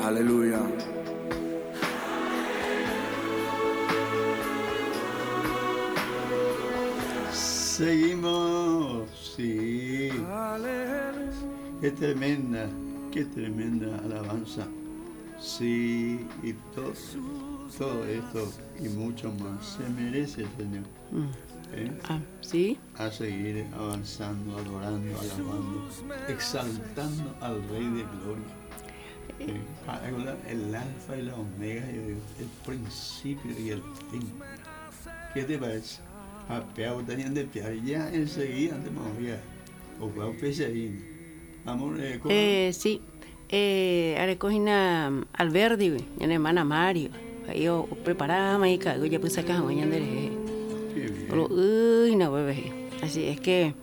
Aleluya. Seguimos, sí. Qué tremenda, qué tremenda alabanza. Sí, y todo, todo esto y mucho más se merece, Señor. ¿Eh? Ah, ¿sí? A seguir avanzando, adorando, alabando, exaltando al Rey de Gloria. ¿Eh? El alfa y la omega, yo digo, el principio y el fin. ¿Qué te parece? Ya enseguida te movía. O Amor, eh, eh, sí. Eh, arecogina Alberdi, mi hermana Mario. Ahí o preparaba y cago ya puse acá mañana Uy, no bebé. Así es que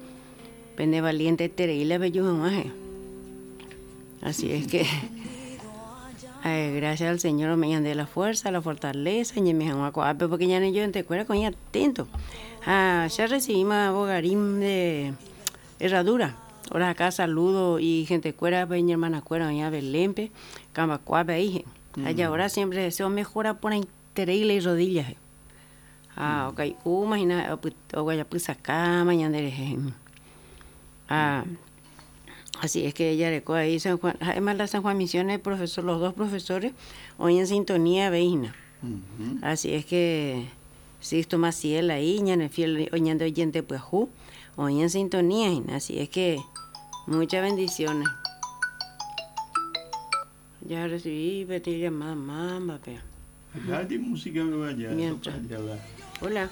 pende valiente tereila bello jamás. Así es que ay, gracias al Señor me de la fuerza, la fortaleza, y me porque ya no yo te acuerdas con atento. Ah, ya recibimos bogarín de herradura. Ahora acá saludo y gente cuera, pues, mi hermana cuera, doña Belempe, Cambacuape ahí. Allá ahora siempre deseo mejora por tereila y rodillas. Ah, ok. Imagina, o guayapusacá, mañana Ah, así es que ella le ahí San Juan, además la San Juan Misiones, profesor, los dos profesores, hoy en sintonía veina. Así es que Sixto Maciel ahí, ñane fiel oñando oyente pues hoy en sintonía, así es que muchas bendiciones. Ya recibí, petí llamada, mamá, pe. Música me vaya. Mientras. Hola.